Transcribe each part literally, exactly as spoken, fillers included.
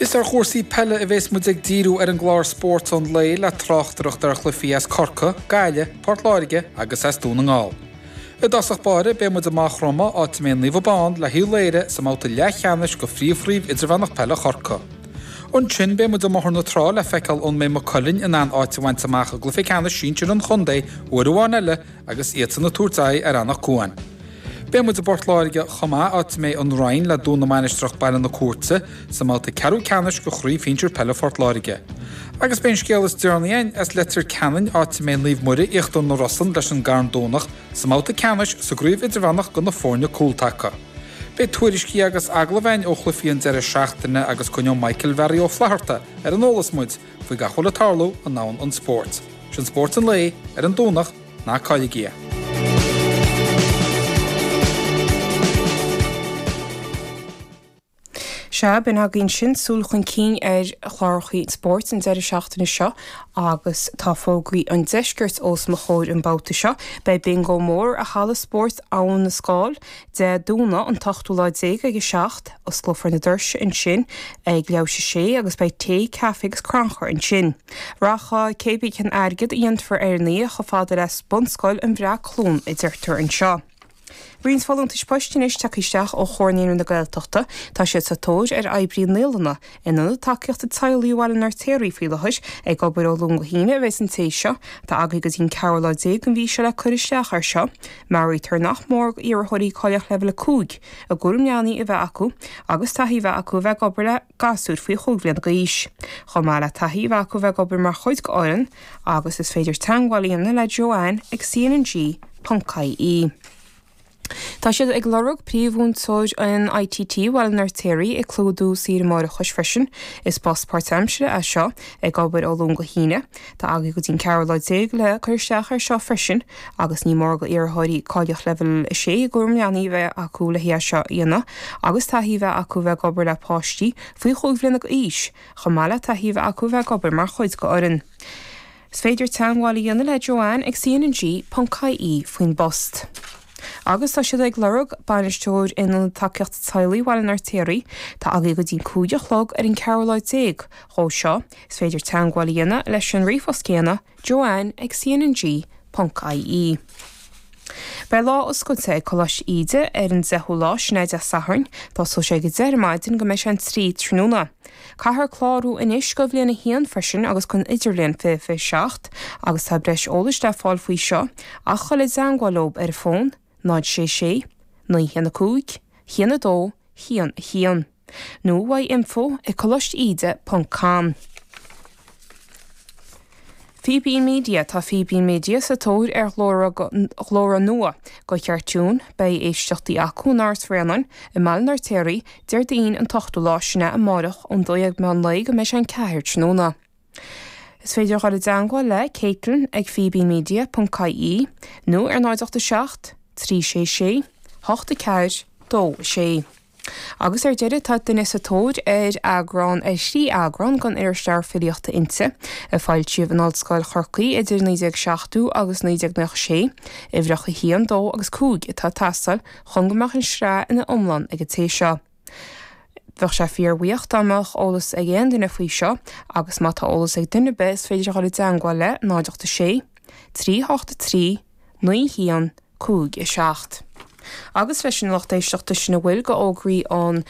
Is ar chúrsaí peile a bheas muid ag díriú ar an gclár Spórt an Lae le tráchtaireacht ar chluichí as Corcaigh, Gaillimh, Port Láirge agus as Dún na nGall. I dtosach báire beidh muid i Maigh Chromtha áit a mbeidh Naomh Abán le hUíbh Laoire sa mbabhta leathcheannais de Phríomhchraobh Idirmheánach Peile Chorcaí. Ansin beidh muid i mBóthar na Trá le feiceáil an mbeidh Maigh Cuilinn in ann áit a bhaint amach i gcluiche ceannais sinsir an chontae uair amháin eile agus iadsan ag tabhairt aghaidh ar Anach Cuain. Beidh muid i bPort Láirge chomh maith áit a mbeidh an Rinn le Dún na Mainistreach Baile na Cúirte sa mbabhta ceathrú ceannais de Chraobh Shinsir Peile Phort Láirge. Agus beidh an scéal is deireanaí againn as Leitir Ceanainn áit a mbeidh Naomh Muire Íochtar na Rosann leis an gCarn Domhnach sa mbabhta ceannais sa gcraobh idirmheánach do na foirne cúltaca. Beidh tuairiscí agus agallaimh againn ó chluichí an deireadh seachtaine agus coinneoidh Michael Mhearaí Ó Flatharta ar an eolas muid faoi gach a bhfuil ag tarlú i ndomhan an spóirt. Sin Spórt an Lae ar an Domhnach ná cailligí é. Sea, b'in againn sin súil chun cinn ar chláracha spóirt an deireadh seachtaine seo agus tá fógraí an deiscirt os mo chomhair an babhta seo. Beidh bingo mór i Halla Spóirt Abhainn na Scáil Dé Domhnaigh an t-ochtú lá déag ag a seacht. Osclófar na doirse ansin ag leathuair théis a sé agus beidh tae, caife agus crannchur ansin. Rachaidh cébí cén airgead a dhéanfar ar an oíche chomh fada le Bunscoil an Bhreac-Chluain a deirtear anseo. Roinnt folúntais poist anois tagtha isteach ó Chomhar Naíonraí na Gaeltachta. Tá siad sa tóir ar oibrí naíolanna in Ionad Tacaíochta Teaghlaigh Bhaile an Fheirtéaraigh faoi láthair, ag obair ó Luan go hAoine a bheas an té seo. Tá agaibh go dtí an ceathrú lá déag den mhí seo le cur isteach air seo. Meabhraítear nach mór d'iarrthóirí cáilíocht leibhéal a cúig i gcúram leanaí a bheith acu agus taithí a bheith acu a bheith ag obair le gasúir faoi chúig bhliana d'aois. Chomh maith le taithí a bheith acu a bheith ag obair mar chuid d'fhoireann agus is féidir teagmháil a dhéanamh le Joanne ag cnng ponc ie. Tá siad ag lorg príomh-mhúinteoir in ITT Bhaile an Fheirtéaraigh ag clúdú saoire máithreachais freisin. Is post páirtaimseartha é seo, ag obair ó Luan go hAoine. Tá agaibh go dtí an ceathrú lá déag le cur isteach air seo freisin agus ní mór d'iarrthóirí cáilíocht leibhéal a sé i gcúram leanaí a bheith acu le é seo a dhéanamh agus taithí a bheith acu a bheith ag obair le páistí faoi chúig bhliana d'aois, chomh maith le taithí a bheith acu a bheith ag obair mar chuid d'fhoireann. Is féidir teagmháil a dhéanamh le Joanne ag cnng ponc ie faoin bpost. Agus tá siad ag lorg bainisteoir in Ionad Tacaíochta Teaghlaigh Bhaile an Fheirtéaraigh. Tá agaibh go dtí an cúig a chlog ar an ceathrú lá déag dhó seo. Is féidir teagmháil a dhéanamh leis an ríomhphost céanna, joanne ag cnng ponc ie. Beidh lá oscailte ag Coláiste Íde ar an deichiú lá, sin é Dé Sathairn. Tosóidh sé ag a deich ar maidin go mbeidh sé an trí tráthnóna. Caithfear clárú anois do bhliain a haon freisin agus don idirbhliain fiche fiche seacht agus tá breis eolais le fáil faoi seo ach dul i dteagmháil leo ar an bhfón náid sé sé, naoi haon a cúig, haon a dó, haon a haon nó uaidh info ag coláiste íde ponc com. Fíbín Media Tá Fíbín Media sa tóir ar ghlór nua do chartún. Beidh éisteachtaí acu in Áras Bhréanainn i mBaile an Fheirtéaraigh Déardaoin an t-ochtú lá, sin é amárach, ón dó dhéag meán lae go mbeidh sé an ceathair tráthnóna. Is féidir dhul i dteagmháil le Caitlin ag fíbínmedia ponc ie nó ar náid ocht a seacht, trí sé sé, hocht a ceathair, dó a sé. Agus ar deireadh, tá duine sa tóir ar eagrán, ar thrí eagrán den irisleabhar filíochta Innti, a foilsíodh in Ollscoil Chorcaí idir naoi déag seachtó agus naoi déag nócha sé, uimhreacha a haon, dó agus cúig atá ag teastáil chun go mbeadh an sraith ina iomlán ag an té seo. Bheadh sé fíorbhuíoch dá mbeadh eolas ag aon duine faoi seo agus má tá eolas ag duine ar bith is féidir a dhul i dteagmháil le náid ocht a sé, trí hocht a trí, naoi haon, cúig a seacht. Agus leis an lucht éisteachta sin a bhfuil do fhógraí an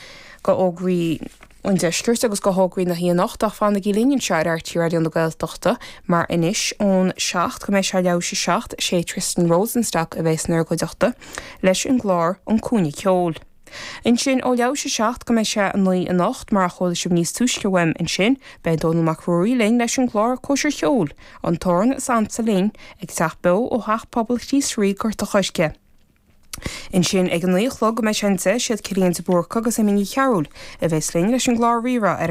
do fhógraí an deiscirt agus do fhógraí na hoíche anocht ach fanaigí linn anseo ar RTÉ Raidió na Gaeltachta mar anois ón seacht go mbeidh sé leathuair théis a seacht sé Tristan Rosenstock a bheas inár gcuideachta leis an gclár An Cúinne Ceoil. Ansin ó leathuair théis a seacht go mbeidh sé a naoi anocht, mar a chuala sibh níos túisce uaim ansin, beidh Dónall Mac Ruairí linn leis an gclár Cóisir Cheoil, An tAmhrán is Ansa Linn, ag teacht beo ó Theach Pobail Chríost Rí, Gort a' Choirce. Ansin ag a naoi a chlog go mbeidh sé an deich, siad Cillian de Búrca agus Amy Ní Chearúil a bheas linn leis an gclár Rí-Rá ar